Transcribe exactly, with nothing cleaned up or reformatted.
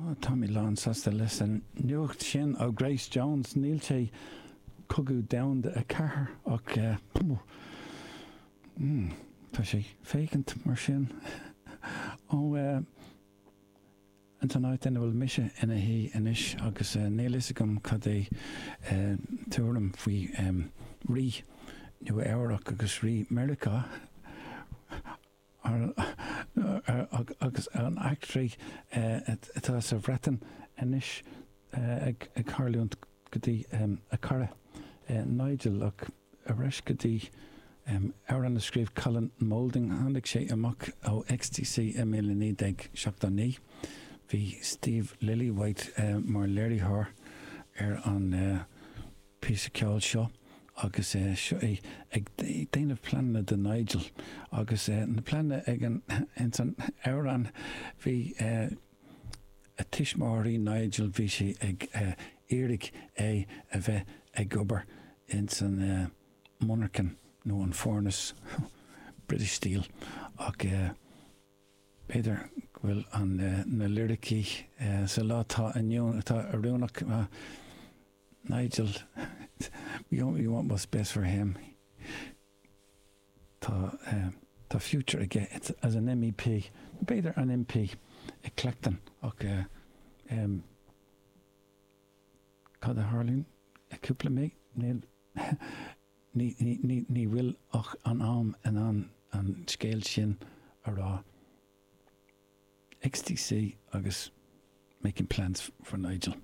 Tá mé lánsásta leis an nuacht sin ó Grace Jones. Níl sé Cogadh Domhanda a ceathair ach mm, tá sé féachaint mar sin ó an san áit ina bhfuil mise ina shuí anois agus níl fhios agam cad é tuairim faoi rí Nua Eabhrac agus rí Meiriceá agus an eachtraí atá sa Bhreatain anois ag tarlúint go dtí a cara Nigel ach ar ais go dtí amhrán a scríobh Colin Moulding. Tháinig sé amach ó X T C i míle naoi déag seachtó naoi. Bhí Steve Lillywhite mar léiritheoir ar an píosa ceoil seo agus seo é ag déanamh pleananna do Nigel agus na pleananna ag an ins an amhrán, bhí a tuismitheoirí Nigel, bhí sé ag iarraidh é a bheith ag obair ins an monarchan nó an furnace British Steel ach b'fhéidir go bhfuil an na liricí sa lá atá inniu atá oiriúnach. Nigel, we only want what's best for him. Tá tá future aige as an M E P, b'fhéidir an M P i Clacton ach um, cad a tharlaíonn cúpla mí níl ní ní ní bhfuil ach an am in an an scéal sin a rá. X T C agus Making Plans for Nigel.